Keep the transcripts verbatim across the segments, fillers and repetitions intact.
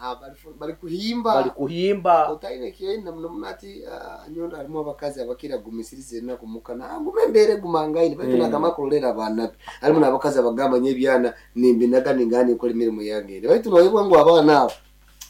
Aha, bali- bali kuhimba. Bali kuhimba. Otaine kyenda muno muno ati ah, nyondo harimu abakazi abakira gumisiriza enaku mukana agume embeera egumangaine baitu Mm. nagamba kurolera abaana be. Harimu n'abakazi abagamba nyo ebyana nimbinaga ningana nikora emirimu yange, baitu noyebwa ngu abaana abo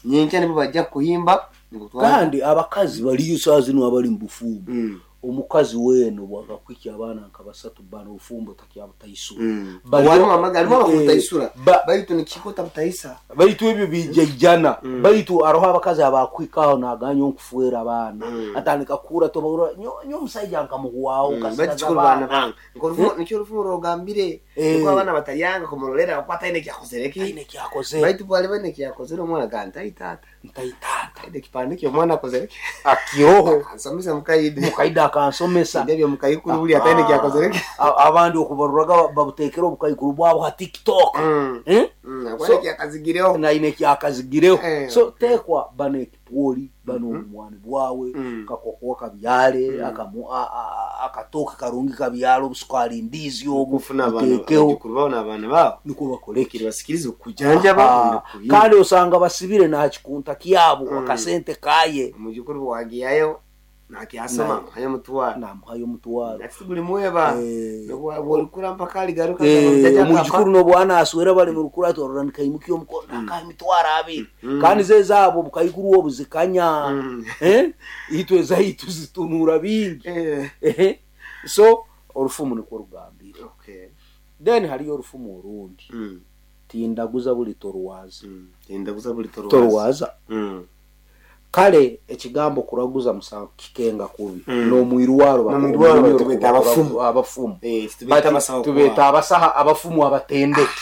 nyenkya nibo bajja kuhimba nikutwara. Kandi abakazi baliyo saa zino abali mu bufumbo. Mm. Omukazi weno bwakakwikya abaana nka basatu bana, obufumbo takyabutaisura. Mm. Baliyo- Walimu amaga- harimu Eh, abakutaisura ba- baitu nikikota butaisa. Baitu ebyo bijaijana. Mm. Baitu aroho abakazi abakwikaho naganya onkufuera abaana, Mm. atandika kura tobahura nyo nyo omusajja nkamuhwaho. Mm, Kasigaza baitu kikuru baana abaana. bange. Nko nikyo orufumu rugambire, Eh. niko abaana batalyanga kumurolera kuko ataine ekyakozere ki. Taine kyakozere. Baitu bwali baine ekyakozere omwana gamba ntaitaata. Ntaitaata. Taine ekipande ky'omwana akozere ki. Akiroho. Akansomesa mukaide. Mukaida akansomesa. Ndebyo mukaikuru buli ataine ekyakozere ki. A- abandi okubaruraga babutekera obukaikuru bwabo ha TikTok. Mm. Eh? Mm, So- akwana ekyakazigireho. Naine kyakazigireho. Eh. So tekwa bano ekipwoli bano obumwani bwawe, Mm. kakokoa kabyale, Mm. akamu- a- a- akatooke karungi kabyale, obusukali ndizi obu Okufuna abaana buteekeho. abajukuru baabo n'abaana baabo. Nikwo bakoleki. Kiribasikiriza okujanjaba Ah, okuhimba. kandi osanga basibire nakikunta kyabo, Mm. akasente kaye. Omujukuru wagiyayo nakyasoma hanya mutwaro. Namuhayo omutwaro. Ati buli mweba Eh. bwolikura mpaka aligaruka. Eh, omwijukuru nobwana aswera bali mu rukura atorora nikaimukia omukono nakaha emitwaro abiri. Mm. Kandi ze zaabo obukaikuru obu zikanya. Mm. Eh? Itwe zaitu zitunura bingi. Eh, so orufumu nikwo rugambire. Then hariyo orufumu orundi: tindaguza buli torwaza. Tindaguza buli torwaza. Torwaza. Mm. Kale ekigambo kuraguza musango kikenga kubi. Mm. N'omwirwaro. N'omwirwaro Omwirwaro. tubeeta abafumu. Abafumu. Eh, tubeeta Bati abasawo. Tubeeta abasaha, abafumu abatendeki,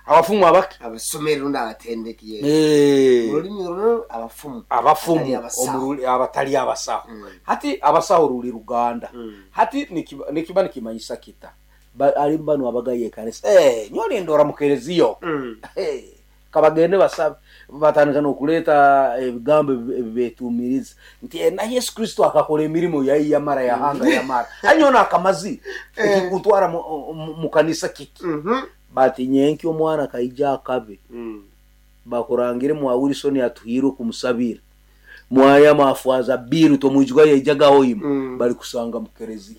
abafumu abaki. Abasomeri rundi abatendeki, yes. Eh, mu rulimi runo abafumu. Abafumu. Abatali abasawo. Omuruli- abatali abasaho. Mm. Hati abasaho ruli ruganda. Mm. Hati nikiba nikiba nikimanyisa kita. Ba- ali bano abagaye ekanisa, eh, nyoli ndora mukereziyo. Mm. Eh, kabagende basabe, batandika nokuleeta ebigambo ebi- ebibetumiriza nti eh, na Yesu Kristo akakora emirimu yayi yamara yahanga yamara anyona akamazi ekikutwara mu- mu- mu kanisa kiki. Mhm. Bati nyenki omwana kaija akabe, Mm. bakurangire mwa Wilson atuhirwe kumusabira mwaya mafwaza biru tomwijuka yaijagaho ima. Mm. Bali kusanga mukerezi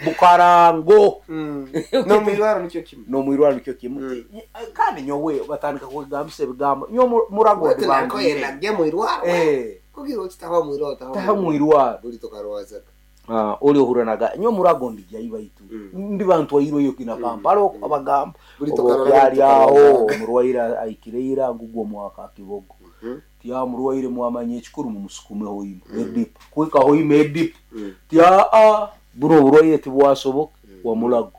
bukarango. Mm. N'omwirwaro nikyo kimu. Nomwirwaro nikyo kimu. Mm. Kandi nyowe batandika kwegambisa ebigambo nyo mu- murago Wete nako ndibangire. yenagye mwirwaro. Eh, kugira oti taho mwirwaro taho. Taho mwirwaro. Buli tokarwazaga. Ah, oli ohuranaga nyo murago ndijai baitu Mm. ndi bantu wairweyo kina Kampala Mm. abagamba Buli oba tokarwara. okyali aho omurwaire aikireira ngugwo omwaka kibogo. Mhm. Tya murwaire mwamanya ekikuru mumusukumeho ima edipu kwikaho ima edipu. Mm. Tya aa buno oburwaire tibwasoboka wamulago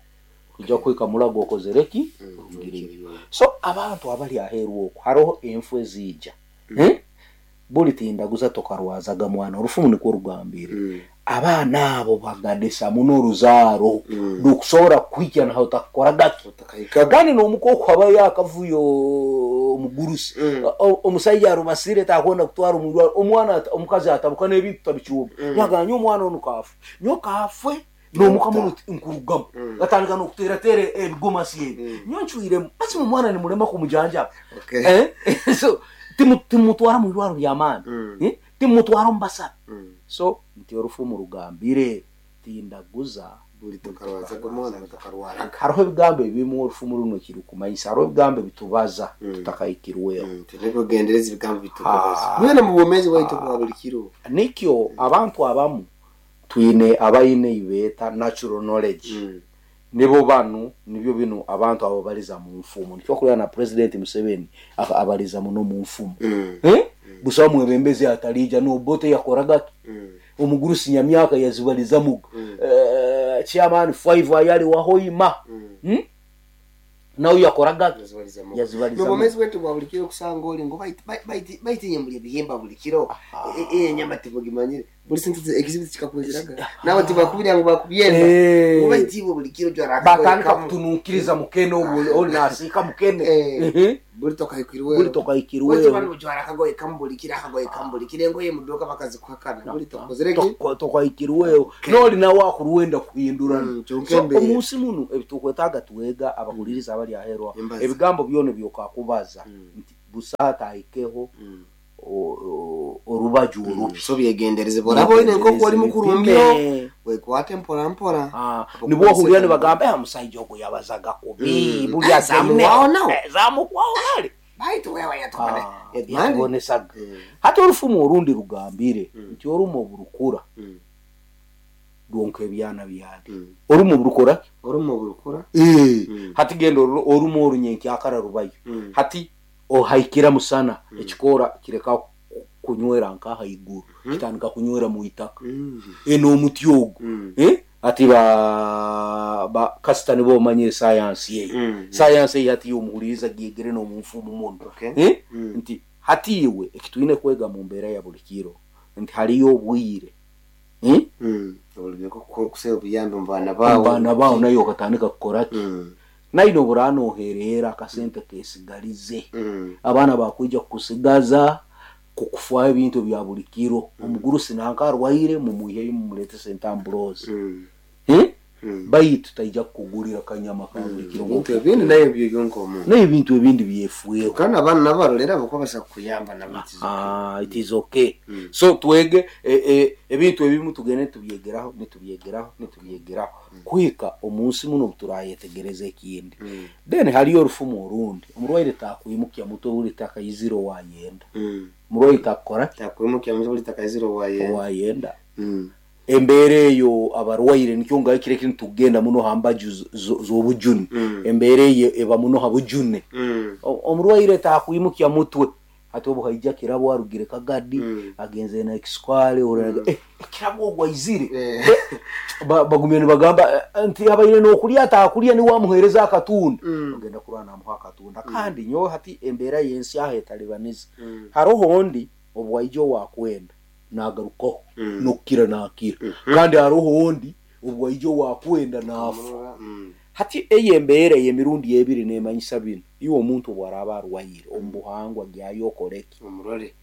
kuja kwika mulago okozereki. Mm. Orugireyo. So abantu abali aheeru okwo hariho enfu eziija. Eh? Buli tindaguza tokarwazaga mwana, orufumu nikwo rugambire. Mm. Abaana abo bagadesa muno oruzaaro. Mm. Rukusobora kuhikya naho utakukoragaki. Otakahikaga. Kandi n'omukoko abayo akavuyo omugurusi. Mm. O- omusajja arubasire takwenda kutwara omurwaro omwana ata- omukazi atabuka n'ebintu tabicuba. Mm. Nyaganya omwana onu kafe nyo kafe n'omuka muno nkurugamu. Mm. Gatandika n'okuteerateera ebigomasi ebi. Mm. Nyo ncwiremu basi omwana nimulema kumujanjaba. Okay. Eh? So timu- timutwara mu birwaro by'amaani. Mm. Eh? Timutwara omu basabe. Mm. So nti orufumu rugambire tindaguza Buli tokarwazaga omwana tokarwaraga. Hariho ebigambo ebimu orufumu runo kirukumanyisa hariho ebigambo ebitubaza Mm. tutakahikirweho. Mm, tulikugendereza ebigambo bitukubaza Ah. mwena mu bwomeezi bwaitu bwa buli kiro. Nikyo abantu abamu twine abaine ibeeta natural knowledge. Mm. Nibo banu nibyo bino abantu abo baliza mu nfumu, nikyo kulya na President Museveni aka- abaliza muno mu nfumu. Mm. Eh? Busaho mwebembezi atalija nobote yakoragaki. Mm. Omugurusi nyamyaka yazibaliza muga. Mm. Eh, chairman five ayali wahoima. Mm. Hmm? Nawe yakoragaki. Yazibaliza mu. Yazibaliza mu. N'obwomeezi bwaitu bwa buli kiro kusanga oli ngu bait- bait- bait- baitinye muli ebihimba buli kiro. E- e- enyama tibugimanyire buli sente ekizibu kikakwezeraga nawe tibakubira ngu bakubyenda. Eh. Ngu baitiibwe buli kiro jwara Batandika kutununkiriza mukene obwo oli nasiika mukene. Eh. Mhm. Buli tokahikirweho. Buli tokahikirweho. Jwara akagoye kamu buli kiro, akagoye kamu buli kiro, engoye muduka bakazikuhakana buli tokozereki. Toko- tokahikirweho noli nawe akuruwenda kuhindurana. Mm, kyonka So embeera. omunsi muno ebitukwetaaga twega abahuliriza abali aherwa Embaza. ebigambo byona byokakubaza Mm. nti Busaata ahikeho orubaju orubi. So byegendereze boraba oine nk'oku oli mukurumbyo wekwate mpora mpora. Nibwo ohurira nibagamba eh omusaija ogu yabazaga kubi buli zamuwaho nawe zamuwaho nale baitu wewe yatubone yatubonesaga. Hati orufumu orundi rugambire nti orumu oburukura rwonka ebyana byali orumu oburukura orumu oburukura eh hati genda orumu orunyenkyakara rubayo hati ohaikira musana ekikora kireka kunywera nka haiguru kitandika kunywera mu itaka eno omuti ogu eh ati ba ba kasita nibo manye science ye science ye hati yomuhuriza gigere no mumfumu muno eh nti hati iwe ekitwine kwega mu mbera ya buli kiro nti haliyo obwire eh olubeko kuseba obuyambi mu baana bawo baana bawo nayo okatandika kukora ki naino burano oherera akasente kesigalize abaana bakwija kukusigaza kukufa ebintu bya buli kiro omuguru sinanka arwaire mumuhe mumulete sentambulozi eh baitu taija kukugulira kanyama ka buli kiro bintu ebindi nayo byonko omuntu nayo ebintu ebindi byefueho kana abana nabarolera bakobasa kuyamba nabitizo ah it is okay mm. So twege ebintu ebimu tugende tubyegeraho nitubyegeraho nitubyegeraho mm. Kuhika omunsi muno turayetegereza ekindi mm. Then haliyo orufumu orundi omurwaire takwimukya muto buli takayiziro wayenda mm. Omurwaire takora takwimukya muto buli takayiziro wayenda wayenda mm. Embere eyo abarwaire nikyo ngayikire kintu tugenda muno hambaju z'obujuni mm. Embere eyo eba muno habujune mm. Omurwaire takwimukya mutwe ati obu haija kirabo arugire kagadi mm. Agenze na ekiskwale mm. Eh kirabo ogwaizire eh. Bagumye nibagamba nti abaire nokulya atakulya ni wamuhereza akatunda mm. Ogenda kurwana amuha akatunda mm. Kandi nyo hati embera yensi aho etalibaniza mm. Haroho ondi obwaijo wakwenda nagaruko mm. Nokira nakira mm -hmm. Kandi haroho ondi obwaijo wakwenda nafu mm. Hati eyembere yemirundi ebiri nemanyisa bino iwe omuntu bwaraba arwaire omubuhangwa gyayo okoreki omurore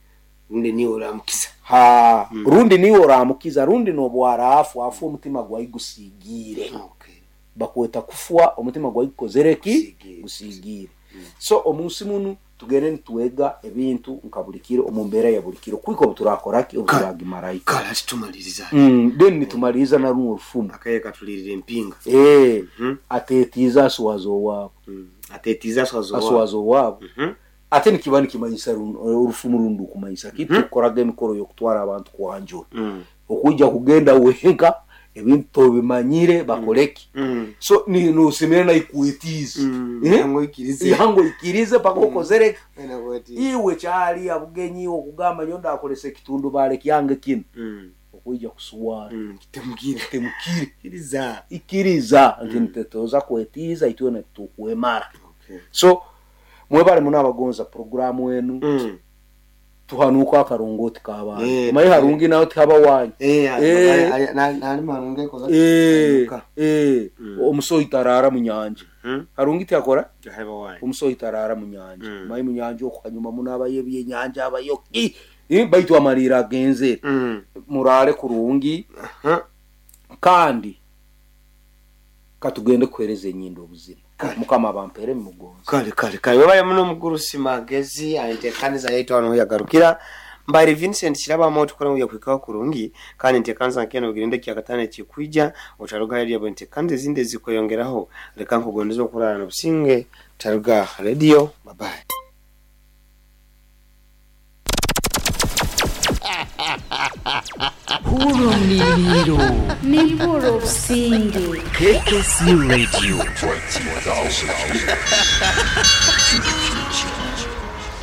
rundi niwe oramukiza ha mm. Rundi niwe oramukiza rundi nobwarafu afu omutima gwayigusigire okay. Bakweta kufwa omutima gwayigukozereki gusigire mm. So omunsi munu tugende nitwega ebintu nkabulikiro omumbera ya bulikiro kwiko turakoraki obuturagimarayika kala tumaliriza mm then nitumaliriza na runo rufumu akaye katulirira empinga eh mm -hmm. Atetiza aswazo wabo mm. Atetiza aswazo wabo aswazo wabo mm -hmm. Ate nikiba nikimanyisa orufumu rundu kumanyisa kitu mm -hmm. Koraga emikoro yokutwara abantu kwanjura mm. Okujja kugenda wenka ebintu bimanyire bakoleki mm. So ni nusimire na ikuitize mm. Eh? Ikirize yango ikirize paka okozere mm. Iwe chali abugenyi okugamba nyonda akolese kitundu bale kyange kino mm. Okujja kusuwara mm. Kitemukire kitemukire ikiriza ikiriza nti mm. Ntetoza kwetiza itwe na tukwemara okay. So mwebale muno abagonza programu enu mm. Tuhanuka akarongoti kabana eh, mayi harungi nayo tihaba wanyu eh eh nali marunge koza eh eh omusoyi tarara munyanja harungi tiyakora haba wanyu omusoyi tarara munyanja mayi munyanja okukanyuma munaba yebye nyanja abayoki eh baitu amarira agenze murare kurungi kandi katugende kuhereza enyindo obuzima mukama bampere mugonzi kale kale kale webaye muno mukuru simagezi aintekaniza yaitu ano yagarukira Mbari Vincent Kiraba moto kora uya kwikaho kurungi kandi ntekanza nkeno bigirinde kyakatane kikuija otaruga radio ntekanze zinde zikoyongeraho reka nkugondeza okurana n'obusinge taruga radio bye bye. Hurumliro Nimburo Singe K K C Radio.